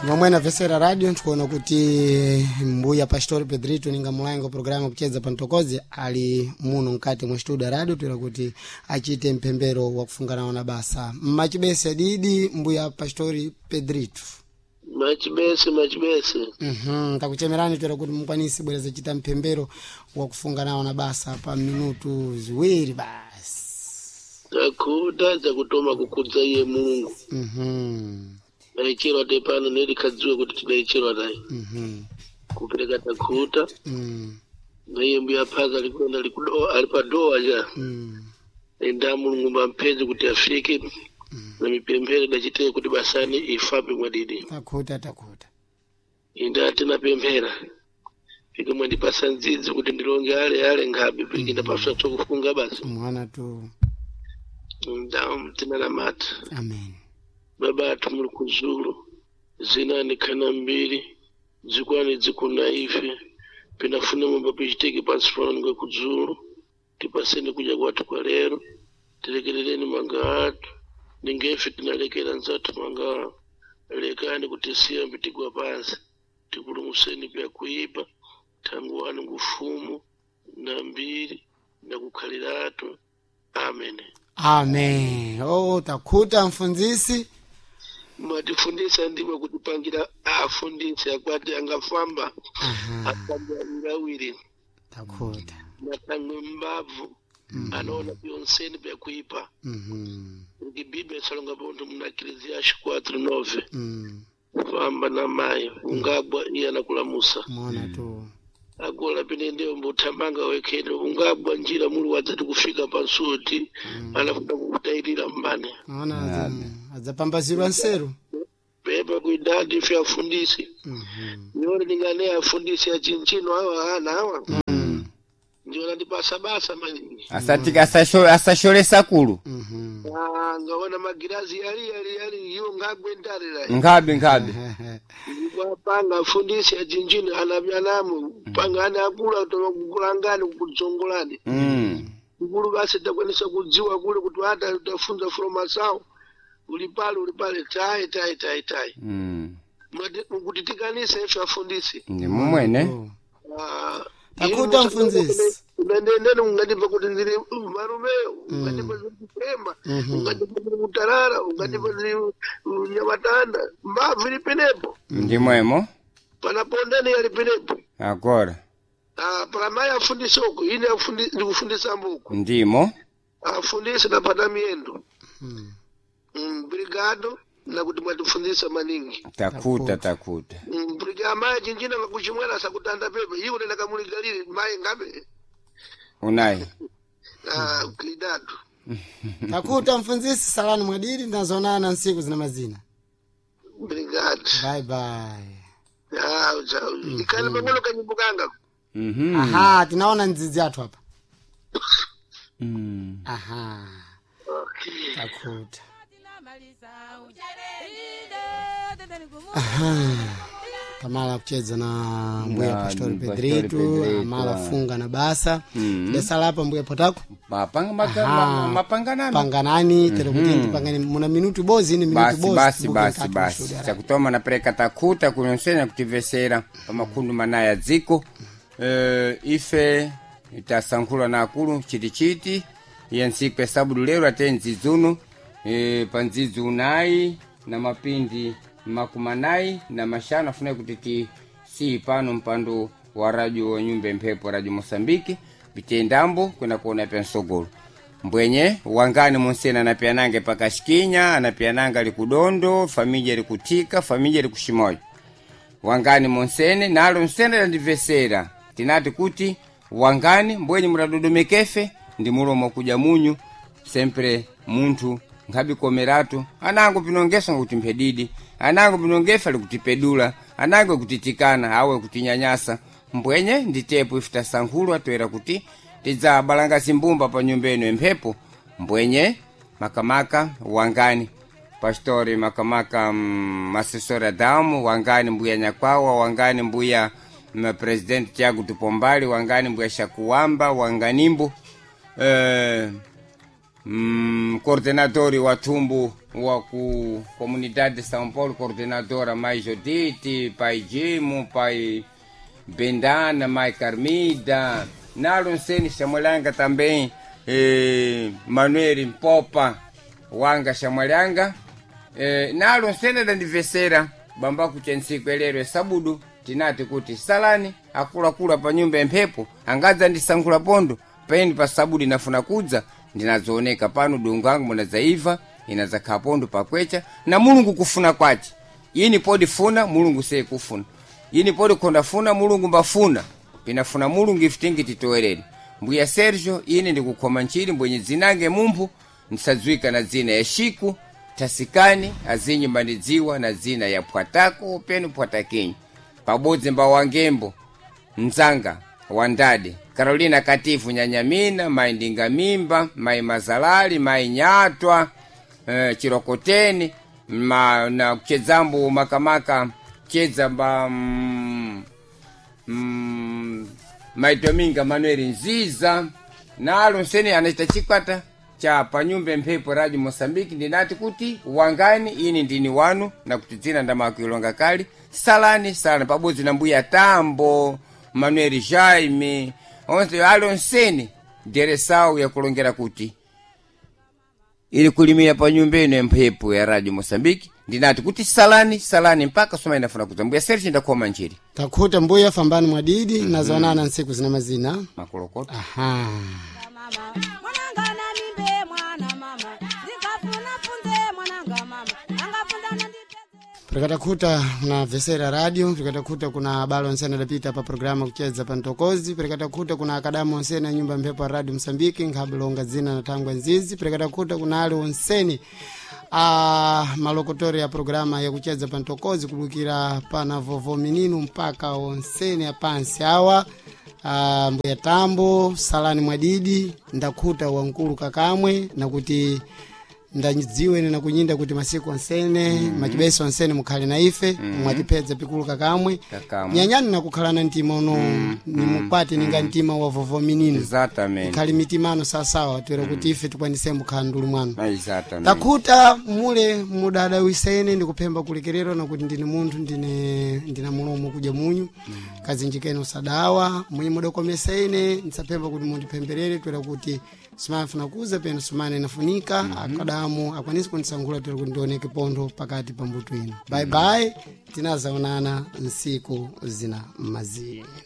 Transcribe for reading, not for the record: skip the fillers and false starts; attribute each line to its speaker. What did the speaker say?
Speaker 1: Momwe na radio ntikuona kuti mbuya Pastor Pedrito ninga mulango programu kucheza pantokozi ali muno mkati mwa studio radio tuira kuti achite mpembero wa kufungana na basa mmachibese adidi mbuya Pastor Pedrito.
Speaker 2: Machibese, machibese.
Speaker 1: Takuchemerani tuira kuti mukwanise bwereza chita mpembero wa kufungana na basa pa minutu ziwiri basi.
Speaker 2: Takhuta dzakutoma kukudza iye Mulungu. Naicherwa tepano nerikadziwe kuti tinaicherwa naye. Kupereka takhuta. Naiye mbuya phaza alikuenda likudoa alipadoa ja. Enda Mulungu mampedzi kuti afike. Na mipembere dachiteye kuti basani ifape mwadidi.
Speaker 1: Takhuta, takhuta.
Speaker 2: Inda tinapemphera. Fike mwandipasa ndzidzi kuti ndilonge ale ale nkhabe piki ndapaswa tsokufunga basi.
Speaker 1: Mwana tu.
Speaker 2: Nda tinanamata.
Speaker 1: Amen.
Speaker 2: Baba athu muli kuzulu zinani khana mbiri dzikwani dzikuna ife pinafune momba pichitike pansi pano ninga kudzulu tipaseni kudya kwathu kwa lero tilekerereni manga athu ningefe tinalekera nzathu manga lekani kutisiya mbitigwa pansi tipulumuseni pya kuipa thangu wanu ngufumu na mbiri na kukhaliratu. Amen.
Speaker 1: Amen. Oh, takhuta mfunzisi.
Speaker 2: Mwatifundisa ndimwe kutipangira afundisi akwati angafamba afamba ngawiri.
Speaker 1: Takhuta.
Speaker 2: Natangwe mbavu anaona byonseni byakuipa. Ngibibe salonga bontu muna Ecclesiastes 4:9. Famba na mayi ungagwa iye anakulamusa.
Speaker 1: Mwana tu.
Speaker 2: Agola pene ndiyo mbutambanga wekhene ungagwa njira muli wadzati kufika pansuti anafuna kukutayirira mbane.
Speaker 1: Mwana adzapambazirwa nseru.
Speaker 2: Pepa kuidadi ife afundisi. Nione ndingane afundisi achinchino awa ana awa. Ndiona ndipasa basa maningi.
Speaker 3: Asati asashole sakulu.
Speaker 2: Ah, ngaona magirazi yali yali yali iwo ngagwendarira.
Speaker 3: Nkhabe nkhabe.
Speaker 2: Ndikupanga afundisi achinchino anavyanamu panga ana akula toka kukulangani kukudzongolani. Ukulu basi takwanisa kudziwa kule kuti ata tafunza from asawo uli pale uli pale tayi tayi tayi tayi. Kuti tikanise ife afundisi.
Speaker 3: Ndi mumwene.
Speaker 2: Ah,
Speaker 1: Takuta
Speaker 2: inu
Speaker 1: mfunzisi.
Speaker 2: Ungandenene ungandipa kuti ndiri marume, ungandipa ndiri kupemba, ungandipa ndiri kutarara, ungandipa ndiri nyamatanda, mbabvu ili penepo.
Speaker 3: Ndi mwemo.
Speaker 2: Panapondani yali penepo.
Speaker 3: Agora.
Speaker 2: Ah, pana mayi afundisi uku, ine ndikufundisa mbuku.
Speaker 3: Ndimo.
Speaker 2: Afundisi napata miyendo. Brigado nakuti mwatifundisa maningi.
Speaker 3: Takuta takuta.
Speaker 2: Brigado mayi chinjina ngakuchimwera sakutanda pepe, iwo nenda kamuligalire mayi ngabe.
Speaker 3: Unayi.
Speaker 2: Ah, klidado.
Speaker 1: Takuta mfunzisi salani mwadiri ndazonana nsiku zina mazina.
Speaker 2: Brigado.
Speaker 1: Bye bye.
Speaker 2: Ah, chao. Ikali pang'ono kanyimbo kanga.
Speaker 1: Aha, tinaona ndzidzi athu apa. Aha.
Speaker 2: Okay.
Speaker 1: Takuta. Aha. Tamala kucheza na mbuya
Speaker 3: Na
Speaker 1: Pastor
Speaker 3: Pastor
Speaker 1: Pedrito,
Speaker 3: Pedrito.
Speaker 1: amala funga na basa. Desala apa mbuya potako.
Speaker 3: Mapanga maka,
Speaker 1: Aha.
Speaker 3: mapanganani.
Speaker 1: Panganani tere kuti ndipangani muna minutu bozi ini minutu
Speaker 3: Basi
Speaker 1: bozi.
Speaker 3: basi
Speaker 1: tibuke
Speaker 3: basi
Speaker 1: mkati mwa
Speaker 3: basi.
Speaker 1: studio.
Speaker 3: Chakutoma napereka takuta kunyonsena kutivesera pamakhundu manaya dziko. Ife tasankhula na akulu chitichiti ya ntsiku ya sabudu lero ate ndzidzuno pa ndzidzi unayi na mapindi makumi anayi na mashanu afuna kuti ti siyi pano mpando wa radio wa nyumba mphepo radio Mosambiki pitendambo kwenda kuona pya msogolo mbwenye wangani munsena anapianange pakashikinya anapiananga ali kudondo famija ali kutika famija ali kushimoyo wangani monsene nalo nsene landivesera tinati kuti wangani mbwenye mutadodomekefe ndi mulomo kudya munyu sempre munthu nkhabikomeratu anango pinongeso ngakuti mphedidi anango pinongefe ali kutipedula anango kutitikana awe kutinyanyasa mbwenye nditepo ife tasankhulwa toera kuti tidzabalanga zimbumba pa nyumba ino emphepo mbwenye makamaka wangani pastori makamaka masesori adamu wangani mbuya nyakwawa wangani mbuya president tiago tupombali wangani mbuya shakuwamba wanganimbo Coordenador wa thumbu wa ku comunidade de São Paulo, coordenadora Mai Judite, pai Jimo, pai Bendana, Mai Carmida, Nalo Nseni Xamwelanga também, Manuel Mpopa wanga Xamwelanga, nalo nsene adandivesera bamba kucha ntsiku elero esabudu tinati kuti salani akuluakulu pa nyumba emphepo angadza ndisankhula pondo peni pa sabudu inafuna kudza ndinazooneka pano dongo angu munadzaiva inadzakhala pondo pakwecha na Mulungu kufuna kwace ini podifuna Mulungu sekufuna ini podi khondafuna Mulungu mbafuna pinafuna Mulungu ife tingi titowerere. Mbuya Sergio, ine ndikukhoma ntchiri mbwenye dzinange mumphu ndisadziwika na dzina ya Shiku Tasikani azinyi mbandidziwa na dzina ya Pwatako penu Pwatakinyi pabodzi mba wangembo mdzanga wandade Carolina Katifu Nyanyamina, mai Ndingamimba, mai Mazalali, mai Nyatwa, Chirokoteni ma, na kuchedzambo makamaka chedza mba mai Dominga Manuel Nziza nalo nsene anachita chikwata cha panyumba mphepo Radio Mosambiki. Ndinati kuti wangani ini ndini wanu na kuti dzina ndamakuilonga kali salani salani pabodzi na mbuya Tambo Manuel Jaime onse alo nsene deresawu yakulongera kuti ili kulimira pa nyumba ino ya mphepo ya Radio Mosambiki. Ndinati kuti salani salani mpaka soma inafuna kudza. Mbuya Serge, ndakhoma njiri.
Speaker 1: Takhuta mbuya, fambani mwadidi. Nazoonana ntsiku zina mazina.
Speaker 3: Makolokota.
Speaker 1: Aha.
Speaker 4: Mama mwananga na mimbe mwana mama ndikafuna funze mwananga mama angafundana ndipeze.
Speaker 1: Pirikatakhuta kuna vesera radio, pirikatakhuta kuna abale onsene adapita pa programa kuchedza pa ntokozi, pirikatakhuta kuna akadamu onsene a nyumba mphepo ya Radio Msambiki nkhabilonga dzina na thangwa nzizi, pirikatakhuta kuna ali onsene a malokotori ya programa yakuchedza pa ntokozi kubukira pana vovo mininu mpaka onsene apansi awa. Mbuya Tambo, salani mwadidi, ndakhuta wankulu kakamwe nakuti ndadziwe na kunyinda kuti masiku onsene machibeso onsene mukhale na ife. Mwatipedza pikulu kakamwe.
Speaker 3: Kakamwe.
Speaker 1: Nyanyani nakukhala na mtima uno nimukwati ninga mtima wa vovo minino.
Speaker 3: Exatamente.
Speaker 1: Ikhali mitimano sasawa toera kuti ife tikwanise mukhala ndulu mwanu.
Speaker 3: Exatamente.
Speaker 1: Takhuta mule mudadawisene ndikuphemba kulekererwa nakuti ndine munthu ndine ndina mulomo kudya munyu. Kazinjikeni usadawa mwenye mudakomesene ndisaphemba kuti mundiphemberere toera kuti simafuna kuza peno sumane inafunika. Akadamu akwanise kundisankhula toera kuti ndioneke pontho pakati pa mbuto ino. Bye bye, tinazaonana nsiku zina mazini.